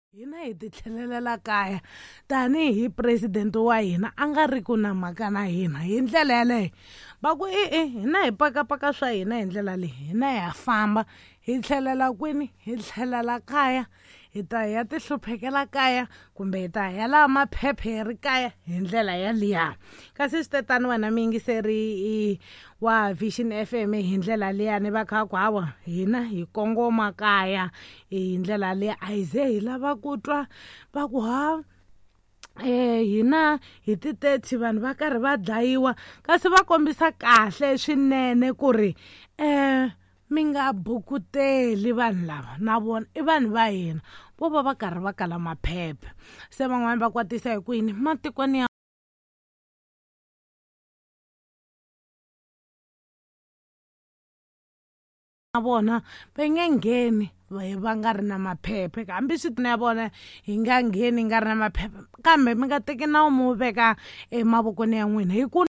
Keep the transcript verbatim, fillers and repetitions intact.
Hina hi ti tlhelelela kaya tanihi president wa hina a nga ri ku na mhaka na hina hi ndlela yaleyo va ku e-e hina hi pakapaka swa hina hi ndlela leyi hina ha famba hi tlhelela kwini hi tlhelela kaya hi ta ya ti hluphekela kaya kumbe hi ta ya laha maphephe hi ri kaya hi ndlela yaliya kasi swi te tani wena muyingiseri wa Vision F M hi ndlela liyani va kha ku hawa hina hi kongoma kaya hi ndlela liya a hi ze hi lava ku twa va ku ha eh hina hi ti thirty vanhu va karhi va dlayiwa kasi va kombisa kahle swinene ku ri eh mi nga bukuteli vanhu lava na vona i vanhu va hina vo va va karhi va kala maphepha se van'wani va kwatisa hi ku yini matikweni ya vona va nge ngheni va nga ri na maphepha hambi swi ya vona hi nga ngheni hi nga ri na maphepha kambe mi nga teki nawu mi wu veka emavokweni ya n'wina hi ku.